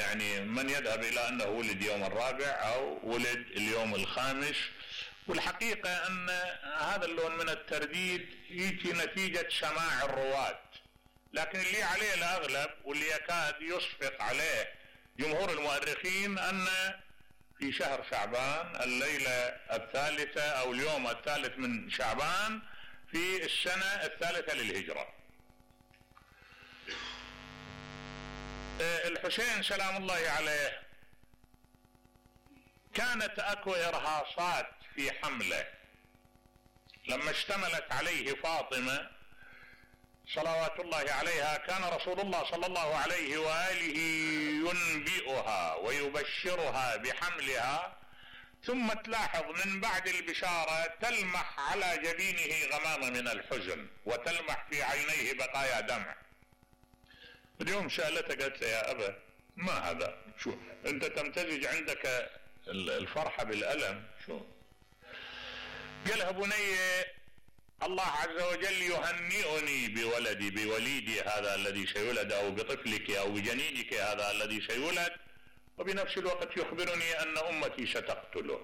يعني من يذهب الى انه ولد يوم الرابع او ولد اليوم الخامس، والحقيقة ان هذا اللون من الترديد يجي نتيجة سماع الرواة، لكن اللي عليه الاغلب واللي يكاد يصفق عليه جمهور المؤرخين ان في شهر شعبان الليلة الثالثة او اليوم الثالث من شعبان في السنة الثالثة للهجرة. الحسين سلام الله عليه كانت اكو ارهاصات في حمله لما اشتملت عليه فاطمة صلوات الله عليها. كان رسول الله صلى الله عليه وآله ينبئها ويبشرها بحملها، ثم تلاحظ من بعد البشارة تلمح على جبينه غمامة من الحزن وتلمح في عينيه بقايا دمع. اليوم سألته قالت له يا أبا ما هذا؟ شو أنت تمتزج عندك الفرحة بالألم؟ شو؟ قالها بني الله عز وجل يهنئني بولدي، بوليدي هذا الذي سيولد، أو بطفلك أو بجنينك هذا الذي سيولد، وبنفس الوقت يخبرني أن أمتي ستقتله.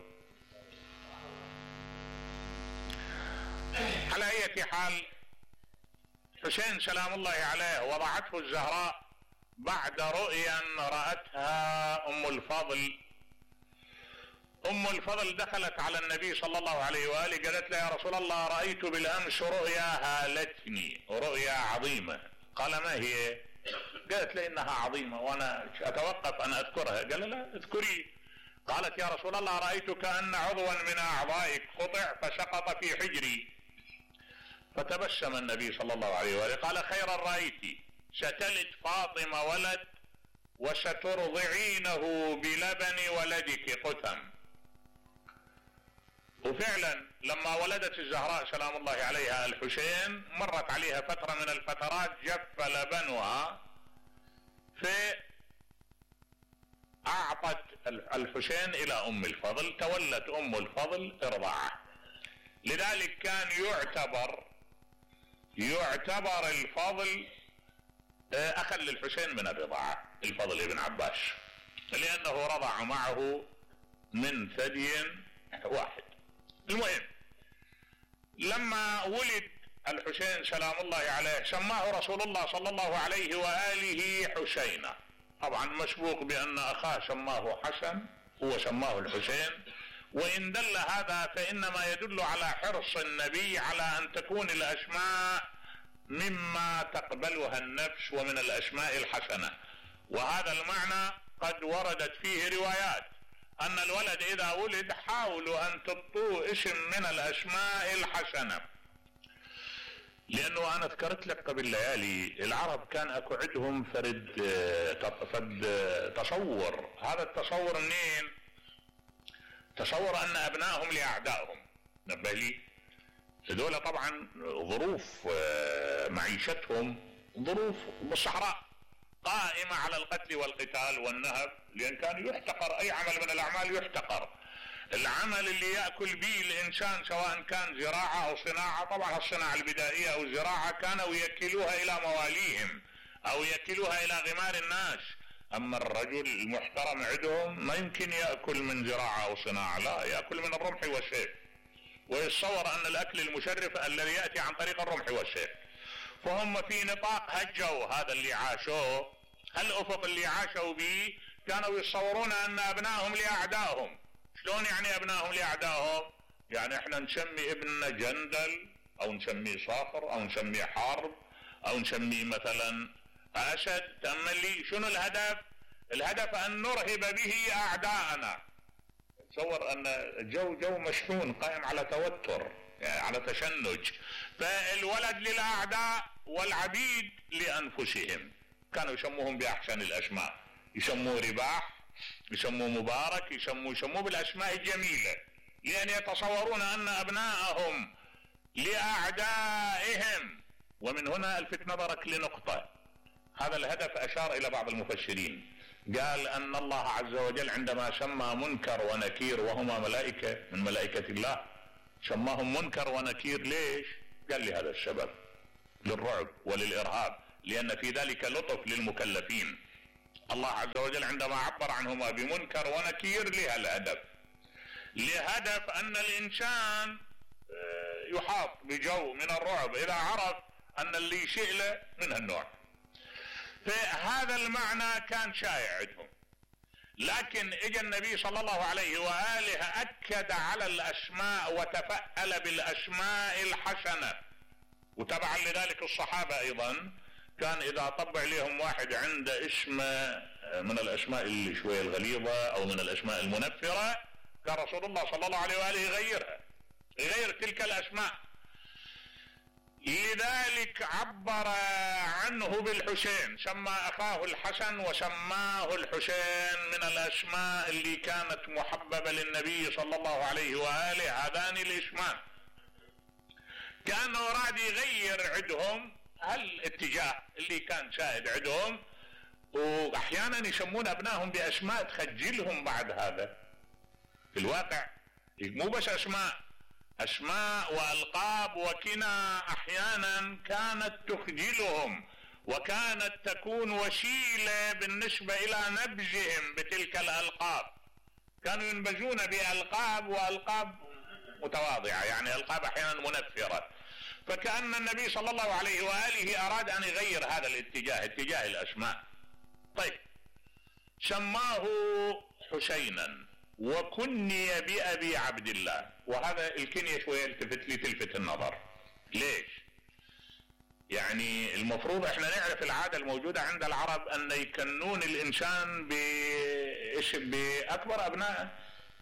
على أي حال حسين سلام الله عليه وضعته الزهراء بعد رؤيا رأتها أم الفضل. أم الفضل دخلت على النبي صلى الله عليه وآله قالت له يا رسول الله رأيت بالأمس رؤيا هالتني، رؤيا عظيمة. قال ما هي؟ قالت له إنها عظيمة وأنا أتوقف أن أذكرها. قال لا اذكري. قالت يا رسول الله رأيت كأن عضوا من أعضائك قطع فسقط في حجري. فتبسم النبي صلى الله عليه وآله قال خيرا رأيت، ستلد فاطمة ولد وسترضعينه بلبن ولدك قثم. وفعلا لما ولدت الزهراء سلام الله عليها الحسين مرت عليها فترة من الفترات جف لبنها، فأعطت الحسين إلى أم الفضل، تولت أم الفضل إرضاعه. لذلك كان يعتبر الفضل أخا للحسين من الرضاعة، الفضل ابن عباس، لأنه رضع معه من ثدي واحد. المهم لما ولد الحسين سلام الله عليه سماه رسول الله صلى الله عليه وآله حسينا، طبعا مسبوق بأن أخاه سماه حسن هو سماه الحسين. وإن دل هذا فإنما يدل على حرص النبي على أن تكون الأسماء مما تقبلها النفس ومن الأسماء الحسنة، وهذا المعنى قد وردت فيه روايات أن الولد إذا ولد حاولوا أن تطوه اسم من الأسماء الحسنة. لأنه أنا ذكرت لك قبل ليالي العرب كان أكو عندهم فرد تصور. هذا التصور منين؟ تصور أن أبنائهم لأعدائهم. نبه لي هذول طبعا ظروف معيشتهم ظروف بالصحراء قائمة على القتل والقتال والنهب، لأن كان يحتقر أي عمل من الأعمال يحتقر. العمل اللي يأكل به الإنسان سواء كان زراعة أو صناعة، طبعا الصناعة البدائية أو الزراعة كانوا يأكلوها إلى مواليهم أو يأكلوها إلى غمار الناس. أما الرجل المحترم عندهم ما يمكن يأكل من زراعة أو صناعة، لا يأكل من الرمح والسيف، ويتصور أن الأكل المشرف الذي يأتي عن طريق الرمح والسيف. فهم في نطاق هجوا هذا اللي عاشوه، الأفق اللي عاشوا به، كانوا يتصورون أن أبنائهم لأعدائهم. شلون يعني أبنائهم لأعدائهم؟ يعني احنا نسمي ابننا جندل أو نسميه صاخر أو نسميه حرب أو نسميه مثلا أسد. تأمل لي شنو الهدف؟ الهدف أن نرهب به أعداءنا. تصور أن جو مشحون قائم على توتر، يعني على تشنج. فالولد للأعداء والعبيد لأنفسهم. كانوا يسموهم بأحسن الأسماء، يسموه رباح، يسموه مبارك، يسموه بالأسماء الجميلة، لأن يتصورون أن أبنائهم لأعدائهم. ومن هنا الفت نظرك لنقطة، هذا الهدف أشار إلى بعض المفسرين، قال أن الله عز وجل عندما سمى منكر ونكير وهما ملائكة من ملائكة الله سماهم منكر ونكير. ليش؟ قال لهذا السبب، للرعب وللإرهاب، لأن في ذلك لطف للمكلفين. الله عز وجل عندما عبر عنهما بمنكر ونكير لهدف ان الانسان يحاط بجو من الرعب اذا عرف ان اللي يشيء له من هالنوع. فهذا المعنى كان شائع عندهم، لكن اجى النبي صلى الله عليه واله اكد على الاسماء وتفأل بالاسماء الحسنه، وتبعا لذلك الصحابه ايضا كان اذا طب عليهم واحد عنده اسم من الاسماء اللي شويه الغليظه او من الاسماء المنفره، كان رسول الله صلى الله عليه واله يغير تلك الاسماء. لذلك عبر عنه بالحسين، سمى اخاه الحسن وسماه الحسين من الاسماء اللي كانت محببه للنبي صلى الله عليه واله. هذان الاسمان كانه راد يغير عندهم هالاتجاه اللي كان سائد عندهم، واحيانا يسمون ابنائهم باسماء تخجلهم بعد هذا. في الواقع مو بس اسماء والقاب وكنى احيانا كانت تخجلهم، وكانت تكون وسيله بالنسبه الى نبذهم بتلك الالقاب. كانوا ينبذون بالقاب والقاب متواضعه، يعني القاب احيانا منفره. فكأن النبي صلى الله عليه واله اراد ان يغير هذا الاتجاه، اتجاه الاسماء. طيب، سماه حسينا وكني بأبي عبد الله، وهذا الكنية شوية تلفت النظر. ليش؟ يعني المفروض احنا نعرف العادة الموجودة عند العرب ان يكنون الانسان بأكبر ابنائه.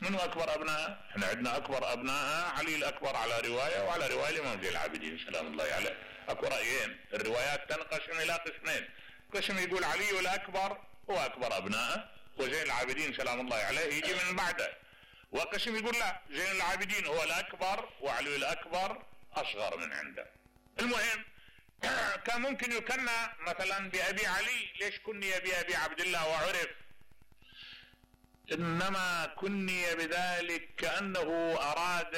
منو اكبر ابنائه؟ احنا عندنا اكبر ابنائه علي الاكبر على رواية، وعلى رواية الامام زين العابدين سلام الله عليه. اكو رأيين، الروايات تنقسم الى قسمين، قسم يقول علي الاكبر هو اكبر ابنائه وزين العابدين سلام الله عليه يجي من بعده، وقسم يقول لا، زين العابدين هو الاكبر وعلي الاكبر اصغر من عنده. المهم كان ممكن يكنى مثلا بابي علي، ليش كني بابي عبد الله وعرف؟ انما كني بذلك كانه اراد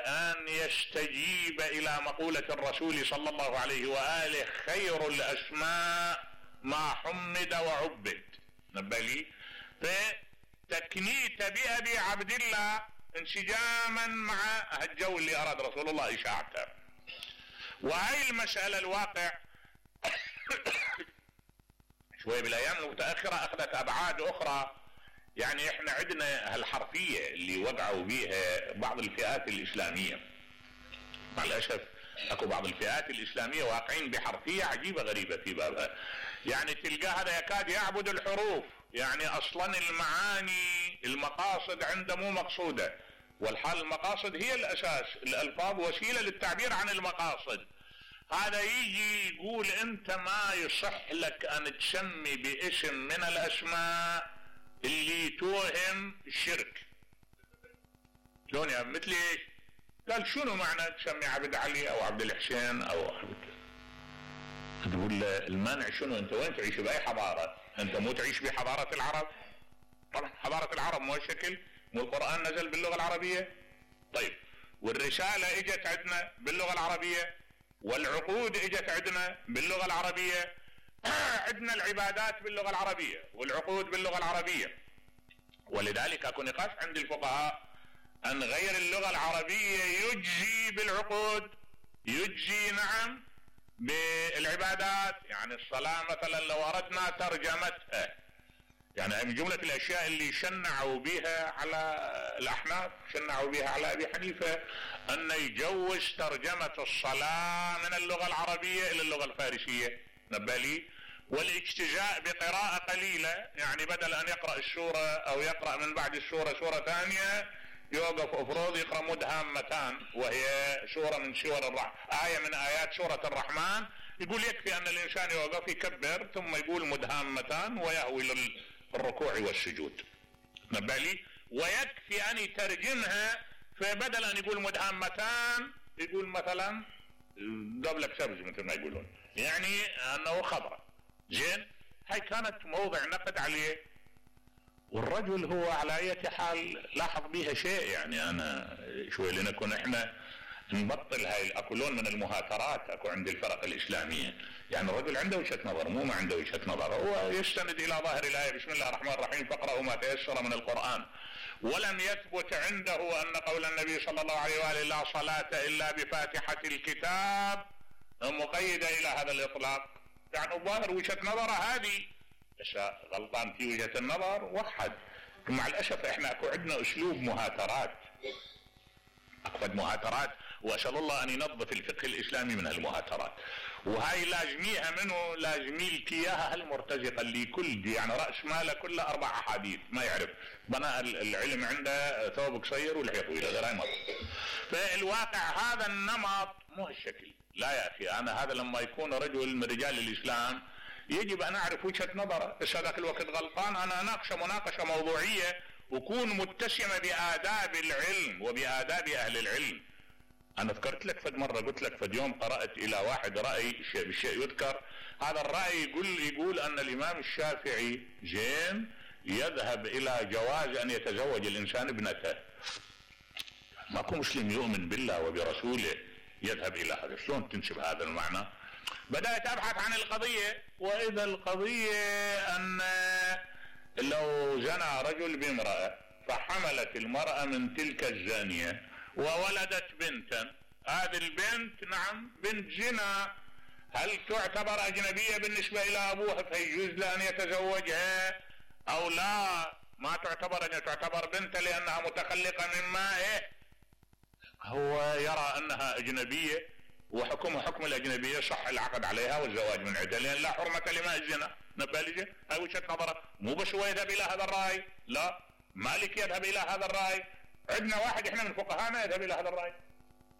ان يستجيب الى مقولة الرسول صلى الله عليه واله: خير الاسماء ما حمد وعبد. نبالي فتكنيت بأبي عبد الله انسجاما مع الجو اللي اراد رسول الله اشاعته. وهي المسألة الواقع شوي بالايام المتأخرة اخذت ابعاد اخرى. يعني احنا عندنا هالحرفية اللي وقعوا بيها بعض الفئات الاسلامية، مع الاسف اكو بعض الفئات الاسلامية واقعين بحرفية عجيبة غريبة في بابها. يعني تلقاه هذا يكاد يعبد الحروف، يعني اصلا المعاني المقاصد عنده مو مقصودة، والحال المقاصد هي الاساس، الالفاظ وسيلة للتعبير عن المقاصد. هذا يجي يقول انت ما يصح لك ان تسمي باسم من الاسماء اللي توهم الشرك. شلون يا مثل ايش؟ قال شنو معنى تسمي عبد علي او عبد الحسين او عبد؟ تقول له المانع شنو؟ انت وين تعيش؟ باي حضارة؟ انت مو تعيش بحضارة العرب؟ طبعا حضارة العرب مو هالشكل، مو القرآن نزل باللغة العربية؟ طيب، والرسالة اجت عندنا باللغة العربية، والعقود اجت عندنا باللغة العربية، عندنا العبادات باللغة العربية والعقود باللغة العربية. ولذلك اكو نقاش عند الفقهاء ان غير اللغة العربية يجزي بالعقود، يجزي نعم بالعبادات. يعني الصلاة مثلا لو اردنا ترجمتها، يعني من جملة الاشياء اللي شنعوا بها على الاحناف، شنعوا بها على ابي حنيفة، ان يجوز ترجمة الصلاة من اللغة العربية الى اللغة الفارسية. نبالي، والاجتزاء بقراءة قليلة، يعني بدل ان يقرأ السورة او يقرأ من بعد السورة سورة ثانية يوقف افروض يقرأ مدهامتان، وهي سورة من سور آية من آيات سورة الرحمن. يقول يكفي ان الانسان يوقف يكبر ثم يقول مدهامتان ويهوي للركوع والسجود. نبالي، ويكفي ان يترجمها، فبدل ان يقول مدهامتان يقول مثلا قبلك سبز مثل ما يقولون، يعني انه خضرة. زين، هاي كانت موضع نقد عليه، والرجل هو على اي حال لاحظ بها شيء. يعني انا شوي لنكون احنا نبطل هاي ياكلون من المهاترات اكو عند الفرق الاسلاميه. يعني الرجل عنده وجهه نظر، مو ما عنده وجهه نظر، هو يستند الى ظاهر الايه بسم الله الرحمن الرحيم فاقرأوا ما تيسر من القران. ولم يثبت عنده ان قول النبي صلى الله عليه واله لا صلاه الا بفاتحه الكتاب مقيده الى هذا الاطلاق. يعني الظاهر وجهه نظره هذه، بس غلطان في وجهه النظر وحد. مع الاسف احنا اكو عندنا اسلوب مهاترات، اكو مهاترات، واسال الله ان ينظف الفقه الاسلامي من هالمهاترات. وهاي لازميها منه، لازمي لك اياها هالمرتزقه اللي كل دي يعني راس ماله كله 4 احاديث ما يعرف، بناء العلم عنده ثوب قصير واللحيه طويله، غير هاي مرة. فالواقع هذا النمط مو هالشكل. لا يا اخي، انا هذا لما يكون رجل من رجال الاسلام يجب ان اعرف وجهه نظره، بس هذاك الوقت غلطان انا اناقشه مناقشه موضوعيه وكون متسمه بآداب العلم وبآداب اهل العلم. انا ذكرت لك فد مره، قلت لك فد يوم قرات الى واحد راي بالشيء يذكر، هذا الراي يقول ان الامام الشافعي زين يذهب الى جواز ان يتزوج الانسان ابنته. ماكو مسلم يؤمن بالله وبرسوله يذهب الى هذا، شلون تنسب هذا المعنى؟ بدأت ابحث عن القضيه، واذا القضيه ان لو زنى رجل بامراه فحملت المراه من تلك الزانيه وولدت بنتا، هذه البنت نعم بنت زنا، هل تعتبر اجنبيه بالنسبه الى ابوها فيجوز له ان يتزوجها او لا؟ ما تعتبر بنتا لانها متخلقه من مائه. هو يرى انها اجنبيه وحكمها حكم الاجنبيه، صح العقد عليها والزواج من عدة، لان لا حرمه لماء الزنا. نبالجه هاي وجهه نظره، مو بس هو يذهب الى هذا الراي، لا مالك يذهب الى هذا الراي، عندنا واحد احنا من فقهانا يذهب الى هذا الراي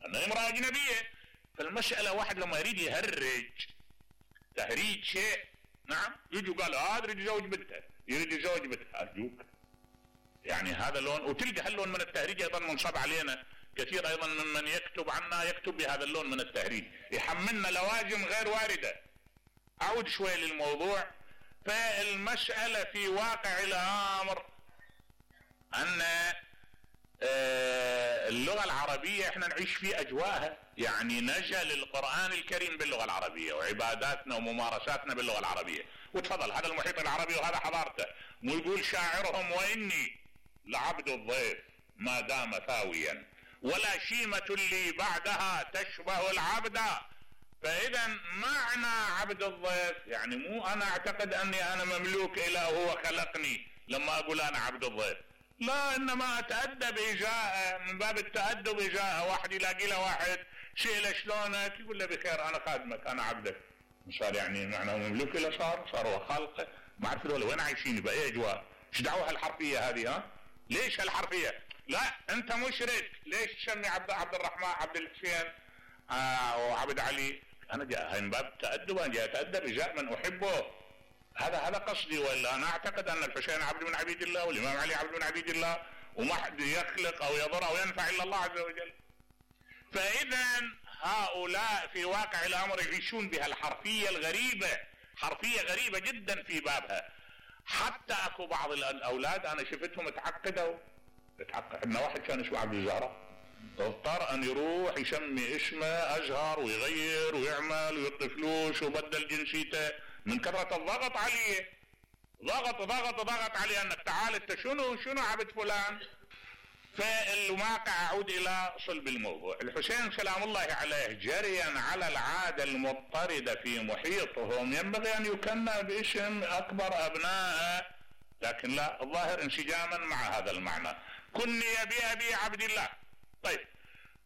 انها امراه اجنبيه. فالمساله واحد لما يريد يهرج تهريج شيء، نعم يجوا قالوا هذا يريد يزوج بنته، يريد يزوج بنته، ارجوك يعني هذا لون. وتلقى هاللون من التهريج ايضا منصب علينا كثير، ايضا ممن يكتب عنا يكتب بهذا اللون من التهريج، يحملنا لوازم غير وارده. اعود شوي للموضوع. فالمساله في واقع الامر ان اللغة العربية احنا نعيش في اجواءها، يعني نزل القرآن الكريم باللغة العربية وعباداتنا وممارساتنا باللغة العربية. وتفضل هذا المحيط العربي وهذا حضارته. مو يقول شاعرهم واني لعبد الضيف ما دام ثاويا ولا شيمة لي بعدها تشبه العبد. فاذا معنى عبد الضيف يعني مو انا اعتقد اني انا مملوك الى هو خلقني لما اقول انا عبد الضيف، لا انما اتأدب اجاءه، من باب التأدب اجاءه. واحد يلاقي له واحد شيله شلونك يقول له بخير انا خادمك انا عبدك، صار يعني معناه مملوك له، صار هو خالقه. ما اعرف هذول وين عايشين باي اجواء، ايش دعوه هالحرفيه هذه؟ ها ليش هالحرفيه؟ لا انت مشرك، ليش تسمي عبد الرحمن عبد الحسين وعبد علي؟ انا جاء من باب تأدب، انا جاي اتأدب اجاء من احبه، هذا قصدي. ولا انا اعتقد ان الحسين عبد من عبيد الله والامام علي عبد من عبيد الله، وما حد يخلق او يضر او ينفع الا الله عز وجل. فاذا هؤلاء في واقع الامر يعيشون بهالحرفية الغريبة، حرفية غريبة جدا في بابها. حتى اكو بعض الاولاد انا شفتهم تعقد. عندنا واحد كان اسمه عبد الزهراء، اضطر ان يروح يسمي اسمه ازهر ويغير ويعمل ويعطي فلوس وبدل جنسيته من كثرة الضغط عليه. ضغط عليه انك تعال انت شنو عبد فلان. فالواقع اعود الى صلب الموضوع. الحسين سلام الله عليه جريا على العادة المضطردة في محيطهم ينبغي ان يكنى باسم اكبر ابنائه، لكن لا، الظاهر انسجاما مع هذا المعنى. كني بأبي عبد الله. طيب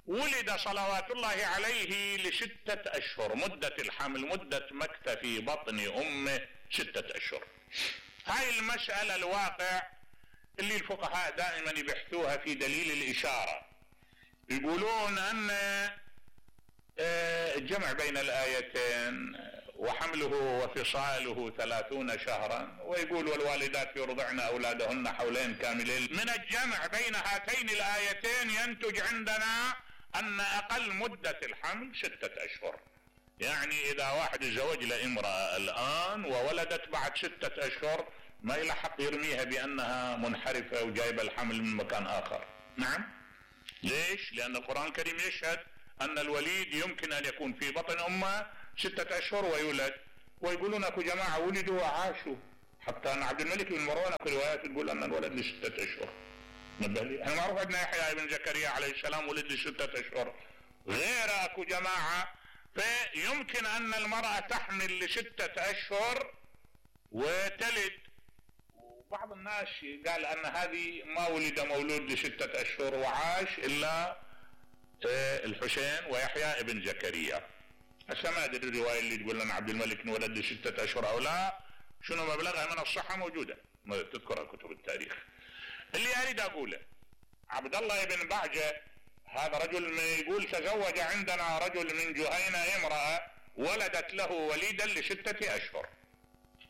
ولد صلوات الله عليه ل6 أشهر، مدة الحمل مدة مكث في بطن أمه 6 أشهر. هاي المسألة الواقع اللي الفقهاء دائما يبحثوها في دليل الإشارة. يقولون أن الجمع بين الآيتين وحمله وفصاله 30 شهرا، ويقول والوالدات يرضعن أولادهن حولين كاملين. من الجمع بين هاتين الآيتين ينتج عندنا أن أقل مدة الحمل 6 أشهر. يعني إذا واحد يزوج لامرأة الآن وولدت بعد 6 أشهر ما يلحق يرميها بأنها منحرفة وجايبة الحمل من مكان آخر. نعم، ليش؟ لأن القرآن الكريم يشهد ان الوليد يمكن ان يكون في بطن امه 6 اشهر ويولد، ويقولون اكو جماعة ولدوا وعاشوا، حتى ان عبد الملك بن مروان اكو روايات تقول ان الولد ل6 اشهر. نبه لي، احنا معروف عندنا يحيى بن زكريا عليه السلام ولد ل6 اشهر، غير اكو جماعة. فيمكن ان المرأة تحمل ل6 اشهر وتلد. وبعض الناس قال ان هذه ما ولد مولود ل6 اشهر وعاش الا الحسين ويحيى بن زكريا. هسه ما ادري الرواية اللي تقول لنا عبد الملك انولد ل6 اشهر او لا، شنو مبلغها من الصحة موجودة تذكرها كتب التاريخ. اللي اريد اقوله، عبد الله بن بعجة هذا رجل يقول تزوج عندنا رجل من جهينة امرأة ولدت له وليدا ل6 اشهر.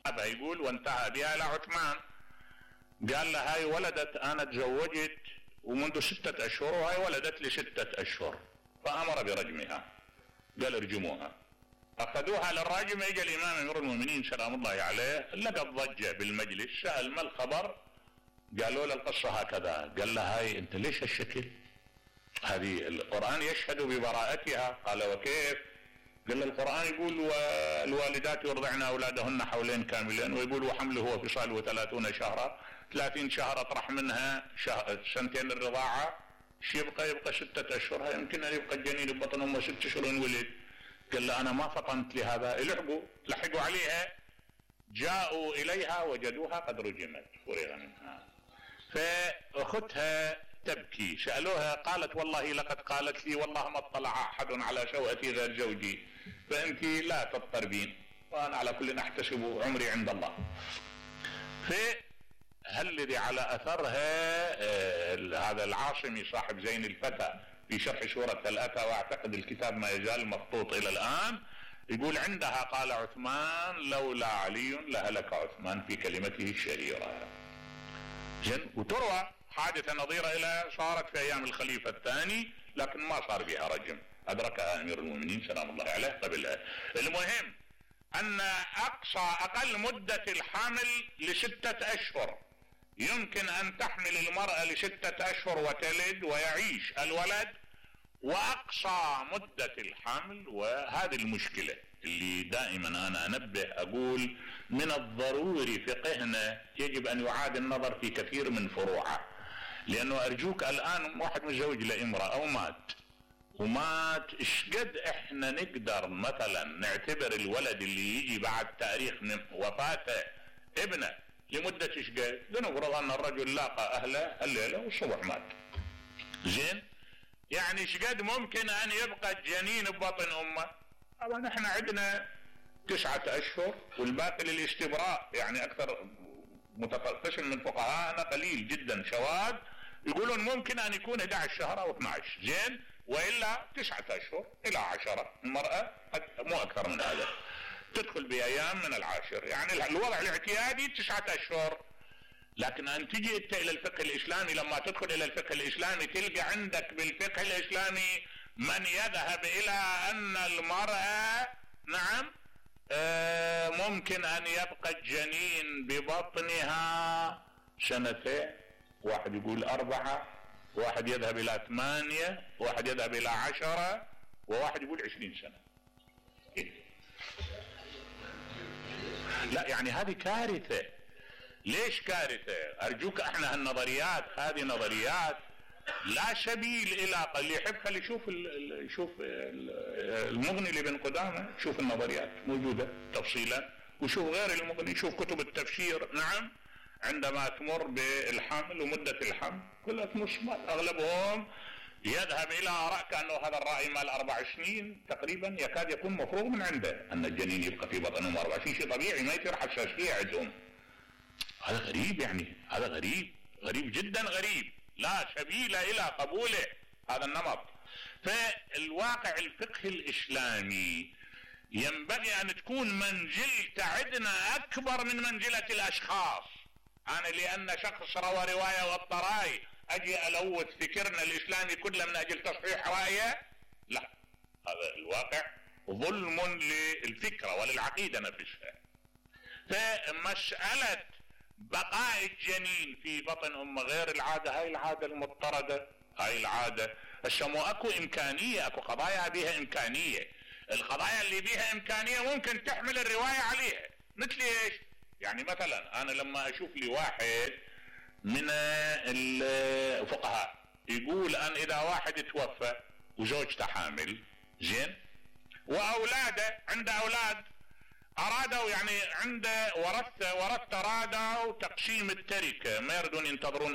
ابا يقول وانتهى بها الى عثمان، قال له هاي ولدت انا تزوجت ومنذ 6 اشهر وهاي ولدت ل6 اشهر، فامر برجمها، قال ارجموها. اخذوها للراجم، اجى الامام امير المؤمنين سلام الله عليه لقى ضجة بالمجلس، سأل ما الخبر؟ قالوا له القصة هكذا. قال له هاي انت ليش هالشكل؟ هذه القرآن يشهد ببراءتها. قال وكيف؟ قال له القرآن يقول والوالدات يرضعن اولادهن حولين كاملين، ويقول وحمله وفصاله 30 شهرا، 30 شهر اطرح منها 2 الرضاعة، يبقى 6 اشهر، يمكن ان يبقى الجنين ببطن امه 6 اشهر ولد. قال له انا ما فطنت لهذا. لحقوا عليها، جاءوا اليها وجدوها قد رجمت فرغ منها. فاختها تبكي، سألوها قالت والله لقد قالت لي والله ما اطلع احد على سوءتي غير زوجي، فانت لا تضطربين وانا على كل احتسب عمري عند الله. الذي على اثرها هذا العاصمي صاحب زين الفتى في شرح سورة الأتى، واعتقد الكتاب ما يزال مخطوط الى الان، يقول عندها قال عثمان لولا علي لهلك عثمان في كلمته الشهيرة. زين. وتروى حادثة نظيرة إلى صارت في أيام الخليفة الثاني لكن ما صار بها رجم، أدركها أمير المؤمنين سلام الله عليه قبلها. المهم أن أقل مدة الحمل ل6 أشهر، يمكن أن تحمل المرأة ل6 أشهر وتلد ويعيش الولد، وأقصى مدة الحمل. وهذه المشكلة اللي دائما أنا أنبه أقول من الضروري فقهنا يجب أن يعاد النظر في كثير من فروعه، لأنه أرجوك الآن واحد متزوج لامرأة ومات إشقد إحنا نقدر مثلا نعتبر الولد اللي يجي بعد تاريخ وفاته ابنه لمدة إشقد؟ لنفرض أن الرجل لاقى أهله الليلة والصبح مات. زين، يعني إشقد ممكن أن يبقى الجنين ببطن أمه؟ طبعا إحنا عندنا 9 أشهر والباقي للاستبراء، يعني أكثر قسم من فقهاءنا قليل جدا شواذ يقولون ممكن أن يكون 11 شهر أو 12. زين، وإلا 9 أشهر إلى 10 المرأة مو أكثر من هذا، تدخل بأيام من العاشر، يعني الوضع الاعتيادي 9 أشهر. لكن أن تجي أنت إلى الفقه الإسلامي، لما تدخل إلى الفقه الإسلامي تلقى عندك بالفقه الإسلامي من يذهب إلى أن المرأة نعم ممكن أن يبقى الجنين ببطنها 2، واحد يقول 4، واحد يذهب إلى 8، واحد يذهب إلى 10، وواحد يقول 20 سنة. لا يعني هذه كارثة. ليش كارثة؟ أرجوك احنا هالنظريات هذه نظريات لا سبيل إلى اللي يحب خلي يشوف المغني لابن قدامة، شوف النظريات موجودة تفصيلا، وشوف غير المغني، شوف كتب التفسير. نعم، عندما تمر بالحمل ومدة الحمل كلها مصمت، أغلبهم يذهب إلى آراء كأنه هذا الرأي مال 4 سنين تقريبا يكاد يكون مفروغ من عنده أن الجنين يبقى في بطن أمه 4 سنين، شيء طبيعي ما يصير حساسية عندهم. هذا غريب، يعني هذا غريب جدا غريب، لا سبيل إلى قبوله هذا النمط. فالواقع الفقه الإسلامي ينبغي أن تكون منزلته عندنا أكبر من منزلة الأشخاص. أنا لأن شخص روى رواية والطراي أجي ألوث فكرنا الإسلامي كله من أجل تصحيح رأيه؟ لا، هذا الواقع ظلم للفكرة وللعقيدة نفسها. فمسألة بقاء الجنين في بطن أمه غير العادة، هاي العادة المضطردة، هاي العادة هسه مو اكو امكانيه، اكو قضايا بيها امكانيه، القضايا اللي بيها امكانيه ممكن تحمل الروايه عليها. مثل ايش؟ يعني مثلا انا لما اشوف لي واحد من الفقهاء يقول ان اذا واحد توفى وزوجته حامل، زين، واولاده عنده اولاد، ارادوا يعني عنده ورثه ارادوا تقسيم التركه، ما يردون ينتظرون